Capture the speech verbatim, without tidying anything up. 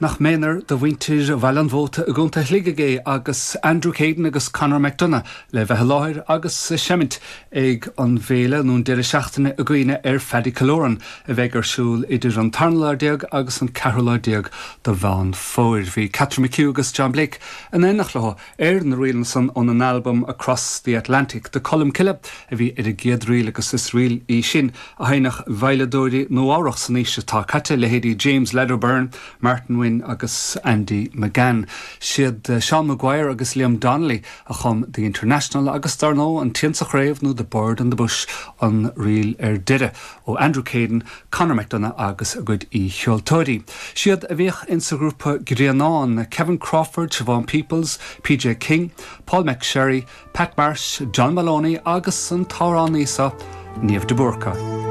Nach méanar do mhuintir Bhaile an Mhóta i gContae Shligigh é agus Andrew Caden agus Conor McDonough le bheith i láthair agus ag seimint ag an bhféile nó an deireadh seachtaine i gcuimhne ar Phaddy Killoran a bheidh ar siúl idir an tarna lá déag agus an ceathrú lá déag de Mheán Fómhair. Bhí Catherine McHugh agus John Blake in éineacht leo ar na ríleanna san ón an albam Across the Atlantic de Colmcille a bhí ar an gcéad ríl agus is ríl í sin a sheinneadh veidhleadóirí Nua-Eabhrac san aois atá caite leithéidí James Lad O'Beirne, Martin Wynne agus Andy McGann. Siad eh, Sean Maguire agus Liam Donnelly a chum The International agus dar ndóigh an t-éan sa chraobh nó The Bird in the Bush an ríl ar deireadh ó Andrew Caden, Conor McDonough agus a gcuid aoicheoltóirí. Siad a bhíodh insa ghrúpa Grianán, Kevin Crawford, Siobhan Peoples, PJ King, Paul McSherry, Pat Marsh, John Maloney agus an t-amhránaí seo Niamh de Búrca.